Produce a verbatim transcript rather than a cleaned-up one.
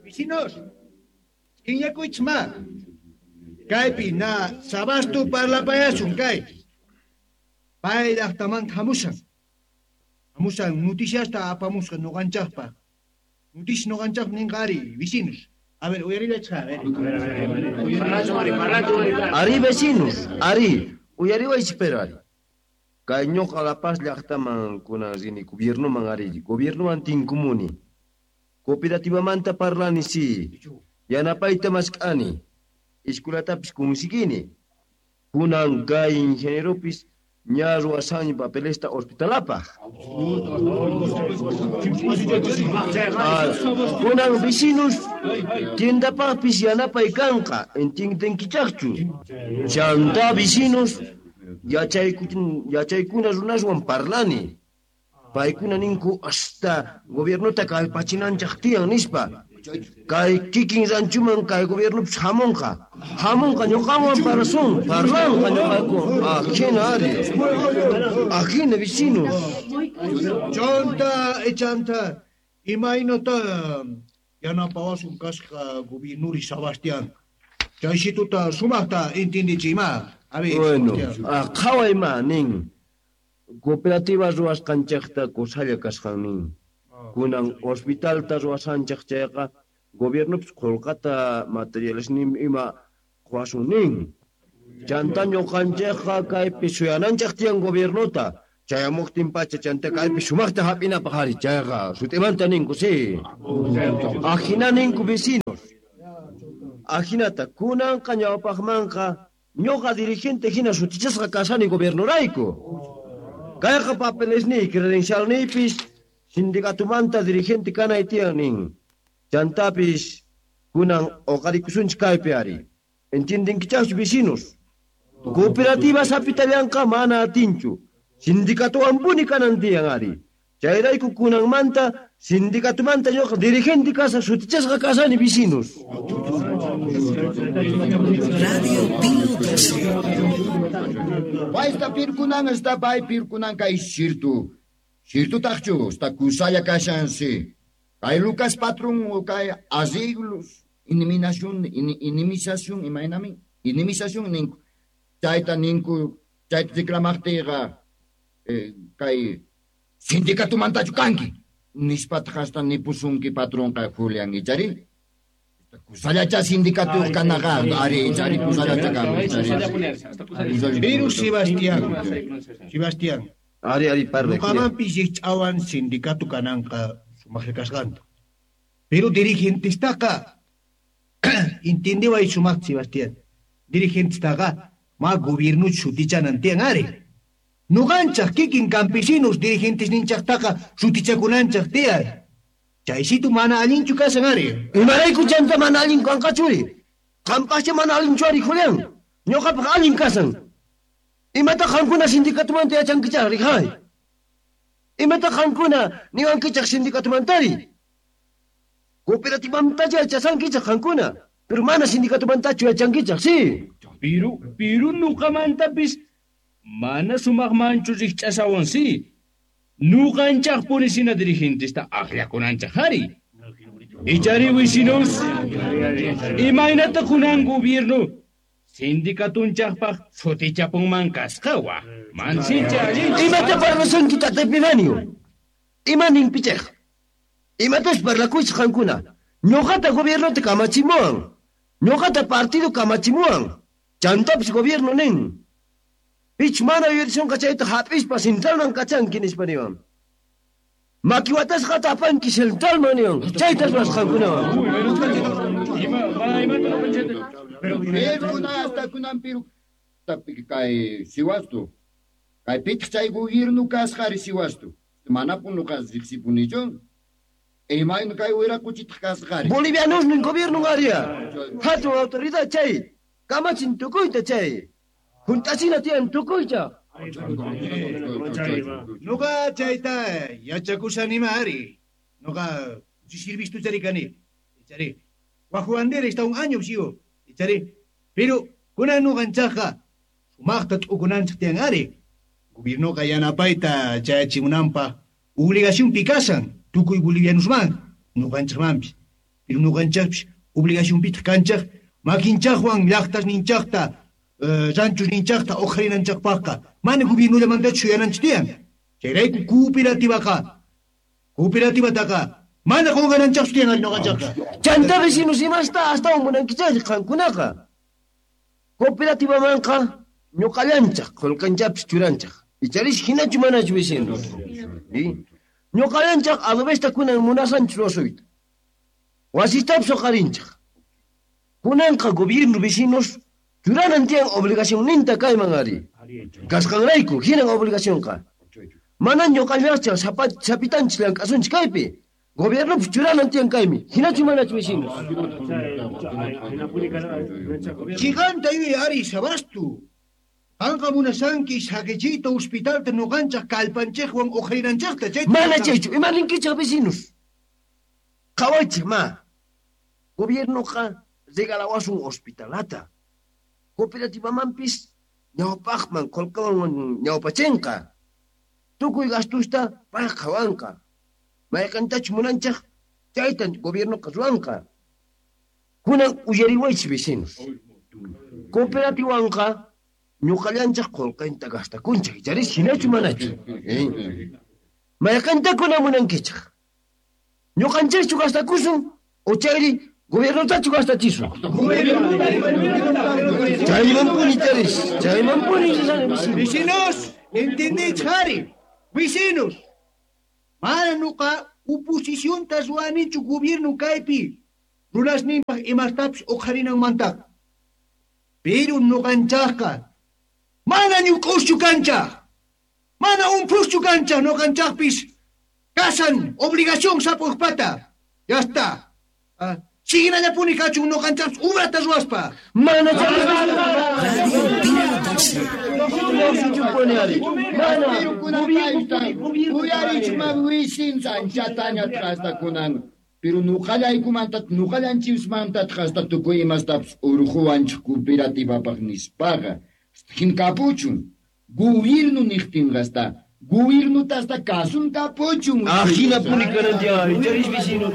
Vecinos, iñakuychma. Kaypi na sabastu parlapayasun kay. Pay llaqtamanta hamushan. Hamushan noticiasta apamusqa ñuqanchaqpaq. Noticias ñuqanchaq ninqa ari, vecinos. A ver, uyarillachqa, a ver. Ari vecinos, ari, uyariwaychik pero ari. Kay ñuqa La Paz llaqtaman kunan rini gobiernoman ari, gobiernoman tinkumuni. Cooperativamanta parlani si, yanapayta mask'ani, escuelatapis kunsigini. Kunan kay ingenieropis ña ruwasani papelesta hospitalapaq. Ah, kunan vecinos tiendapaqpis yanapay kanqa, entiendenkichaqchu. Chanta vecinos yachaykuna runaswan parlani. Paykuna ninku hasta gobiernota kallpachinanchaq tiyan nispa. Kay kikin ranchuman kay gobiernopis hamunqa. Hamunqa ñuqawan parlasun, parlanqa ñuqayku. Ajina ari. Ajina vecinos. Chanta, echanta, imaynata yanapawasun kasqa gobiernuri Sebastián. Chaysituta sumaqta entendichiyma. A ver, bueno, qhaway ma nin. Cooperativa ruwasqanchaqta kusalla kasqan nin. Kunan hospitalta ruwasanchaq chayqa gobiernopis qullqata materiales nin ima quwasun nin. Chanta ñuqanchaqqa kaypi suyananchaq tiyan gobiernota. Chayamuqtin pacha chanta kaypi sumaqta hap'inapaq ari chayqa sut'imanta ninku si. Ajina ninku vecinos. Ajinata kunanqa ñawpaqmanqa ñuqa dirigente hina sutichasqa kasani gobiernorayku. Kayqa papelesniy credencialniypis sindicatumanta dirigente kanay tiyan nin. Chantapis kunan uqarikusunchik kaypi ari. Entiendenkichaqchu vecinos? Cooperativa sapitallanqa mana atinchu. Sindicatuwanpuni kanan tiyan ari. Chayrayku kunanmanta sindicatumanta ñuqa dirigente kasa sutichasqa kasani vecinos. Radio Pío doce. Paysta pirkunan esta pay pirkunan kay shirtu. Shirtutaqchu esta kusalla kashansi. Kay Lucas patrón o kay arreglos, iniminación, in, inimización, imaynami, inimización ninku. Chayta ninku, chayta reclamaqtiyqa eh, kay sindicatumantachu kanki. Nispataq hasta nipusunki patronqa Julián ichari. Kusallacha sindicato kanaqa ari ichari kusallacha kanqa. Pero Sebastián, Sebastián. Ari ari parle. Ñuqamanpis rikch'awan sindicato kananqa sumaqlla kasqanta. Pero dirigentestaqa entendiway sumaqta Sebastián. Dirigentestaqa ma gobiernuchu sutichanan tiyan ari. Ñuqanchaq kikin campesinos dirigentes ninchaqtaqa sutichakunanchaq tiyan. Chaysitu mana allinchu kasan ari. Imarayku chanta mana allin kanqachuri. Qampaqcha mana allinchu ari Julián. Ñuqapaq allin kasan. Imata qamkuna sindicatumanta yachankichaq rijay. Imata qamkuna niwankichaq sindicatumantari. Cooperativamanta yachasankichaq qamkuna. Pero mana sindicatumantachu yachankichaq, sí. Piru, piru ñuqamantapis mana sumaqmanchu rikch'asawan sí. Ñuqanchaqpuni sina dirigentesta akllakunanchaq ari. Ichari vecinos, imaynata kunan gobierno sindicatunchaqpaq sutichapunman kasqawa. Mansincha allinchu. Imata parlasunki tata Epifanio? Ima ninpichaq? Imatas parlakuychik qankuna? Ñuqata gobiernota kamachimuwan. Ñuqata partido kamachimuwan. Chantapis gobierno nin. Pich mana yuyarisunqa chayta hap'ispa centralman kachanki nispa niwan. Makiwatasqata apanki centralman niwan. Chaytas ruwasqankunawan. Pero hasta kunan piru kay siwastu. Kay pitaq chay gobierno kasqari siwastu. Manapun nuqa riqsipunichu. Imayna kay wiraquchitaq kasqari. Bolivianos nin gobierno aria. Hatun autoridad chay. Kamachin tukuyta chay. Hunt'achina tiyan tukuyta. Nuqa chayta yachakushanima ari. Nuqa sirvistu chari kani. Chari. Wajuandera está un año sigo. Chari. Pero kunan nuqanchaqqa sumaqta t'ukunanchaq tiyan ari. Gobiernoqa yanapayta chayachimunanpaq obligación pikasan tukuy bolivianosman. Nuqanchaqmanpis. Pero nuqanchaqpis obligacionpitaq kanchaq makinchaqwan llaqtas ninchaqta, ranchos ninchaqta uqharinanchaqpaqqa. Mana gobiernollamantachu suyananchik tiyan. Chayrayku cooperativaqa. Cooperativataqa mana qunqananchaqchu tiyan ari nuqanchaqqa. Chanta vecinos imasta astawan munankichaq qankunaqa. Cooperativamanqa ñuqallanchaq qullqanchapis churanchaq. Icharish hinachu manachu vecinos. Ñuqallanchaq adobesta kunan munasanchik ruwasuyta. Wasitapis uqharinchaq. Kunanqa gobierno vecinos churanan tiyan obligacionninta kayman ari. Kasqanrayku hinan obligacionqa. Mana ñuqallanchaq sapitanchik llank'asunchik kaypi. Gobiernopis churanan tiyan kaymi. Hinachu manachu vecinos. Chiganta yuy ari sabastu. Qanqa munasanki saqichiyta hospitalta nuqanchaq kallpanchikwan uqharinanchaqta chayta. Mana chaychu, ima ninkichaq vecinos. Qhawaychik ma. Gobiernoqa regalawasun hospitalata. Cooperativamanpis ñawpaqman qullqiwan ñawpachinqa. Tukuy gastusta pay qhawanqa. Mayqantachu munanchaq chayta gobiernoqa ruwanqa. Kunan uyariwaychik vecinos. Cooperativanqa ñuqallanchaq qullqinta gastakunchik, icharis hinachu manachu. Mayqanta kunan munankichaq. Ñuqanchikchu gastakusun o chayri gobiernotachu gastachisun. Chaymanpuni charis, chaymanpuni vecinos. Entendich ari, vecinos. Mana nuqa oposicionta ruwanichu gobierno kaypi. Runasninpaq imastapis uqharinanmantaqa. Pero nuqanchaqqa mana ñuk'uschu kanchaq. Mana umpuschu kanchaq nuqanchaqpis. Kasan obligación sapujpata. Ya está. Ah, Siginallapuni kachun nuqanchaqpis ubrata ruwaspa. Mana Radio Pío doce. Uyarichma wisin anchataña trastakunan. Pero nuqallaykumanta nuqallanchikmanta hasta tukuy imastapis urquwanchik cooperativapaq nispaqa. Hin kapuchun. Gobierno niqtinqa hasta gobierno hasta kasun kapuchun. Ajinapuni kanan tiyan, icharis vecino.